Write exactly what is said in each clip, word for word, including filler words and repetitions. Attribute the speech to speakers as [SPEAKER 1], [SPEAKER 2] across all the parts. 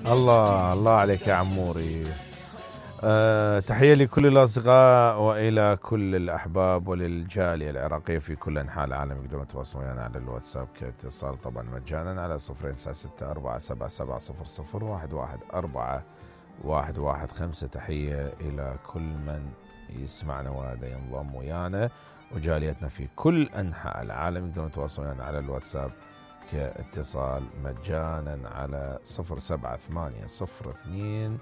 [SPEAKER 1] الله الله عليك يا عموري. أه تحية لكل الأصدقاء وإلى كل الأحباب وللجالية العراقية في كل أنحاء العالم. يقدرون يتواصلون يعني على الواتساب كاتصال طبعا مجانا على صفرين تسعة ستة أربعة سبعة سبعة صفر صفر واحد واحد أربعة واحد واحد خمسة. تحية إلى كل من يسمعنا وهذا ينضم ويانا وجاليتنا في كل أنحاء العالم. يقدرون يتواصلون يعني على الواتساب كاتصال مجانا على صفر سبعة ثمانية صفر اثنين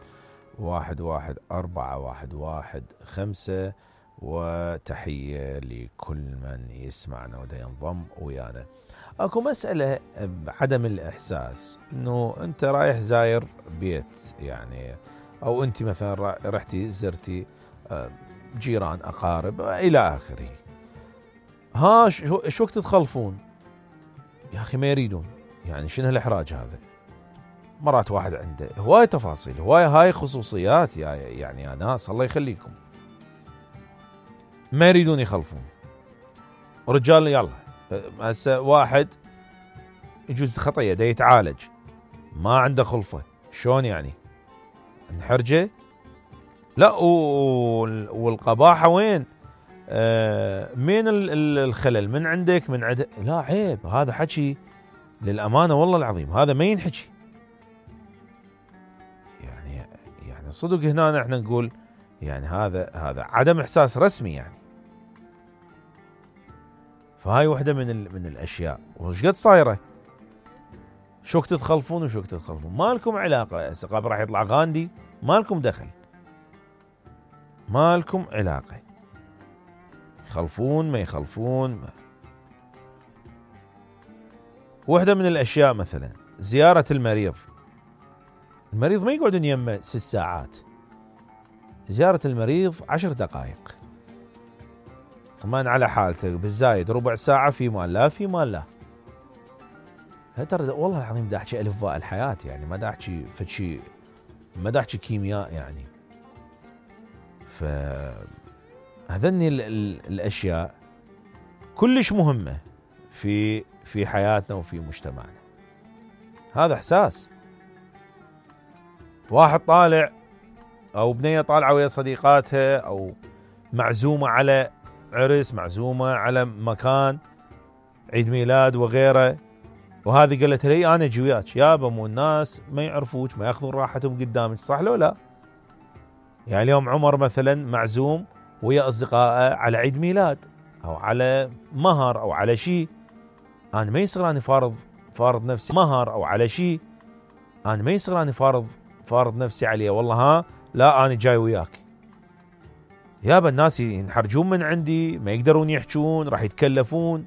[SPEAKER 1] واحد واحد أربعة واحد واحد خمسة. وتحية لكل من يسمعنا ودا ينضم ويانا. اكو مسألة بعدم الإحساس انه انت رايح زاير بيت يعني، او انت مثلا رحتي زرتي جيران اقارب الى اخره، ها شو وقت تخلفون يا اخي؟ ما يريدون يعني. شنو هالاحراج هذا؟ مرات واحد عنده هواي تفاصيل، هواي هاي خصوصيات يا يعني يا ناس الله يخليكم، ما يريدون يخلفون. رجال يلا هسه واحد يجوز خطيه دا يتعالج ما عنده خلفه، شلون يعني؟ نحرجه؟ لا. والقباحه وين؟ آه مين الخلل؟ من عندك من عند؟ لا عيب، هذا حكي للامانه والله العظيم هذا ما ينحكي. يعني يعني صدق هنا احنا نقول يعني هذا هذا عدم احساس رسمي يعني. فهاي وحده من من الاشياء. وش قد صايره؟ شو وقت تخلفون وشو وقت تخلفون؟ ما لكم علاقه. هسه قبل راح يطلع غاندي، ما لكم دخل، ما لكم علاقه. يخلفون ما يخلفون ما. وحده من الاشياء مثلا زياره المريض. المريض ما يقعدون يمه ست ساعات، زياره المريض عشر دقائق، طمان على حالته، بالزايد ربع ساعه في مال لا في مال لا. ترى والله العظيم دا احكي الف باء الحياه يعني، ما دا احكي فشي، ما دا احكي كيمياء يعني. ف هذني الاشياء كلش مهمه في في حياتنا وفي مجتمعنا. هذا احساس. واحد طالع او بنيه طالعه ويا صديقاتها او معزومه على عرس، معزومه على مكان عيد ميلاد وغيره، وهذه قالت لي انا اجي وياك. يابا مو الناس ما يعرفوك، ما ياخذون راحتهم قدامك، صح لو لا؟ يعني اليوم عمر مثلا معزوم ويا اصدقائه على عيد ميلاد او على مهر او على شيء، انا ما يصير اني فارض فارض نفسي مهر او على شيء، انا ما يصير اني فارض فارض نفسي عليه والله ها لا انا جاي وياك. يابا الناس ينحرجون من عندي، ما يقدرون يحجون، راح يتكلفون،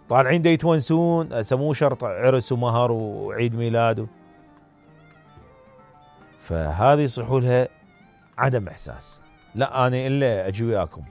[SPEAKER 1] طالعين دا يتونسون، سموه شرط عرس ومهر وعيد ميلاد. فهذه يصيحوا لها عدم احساس. لا انا الا اجي وياكم،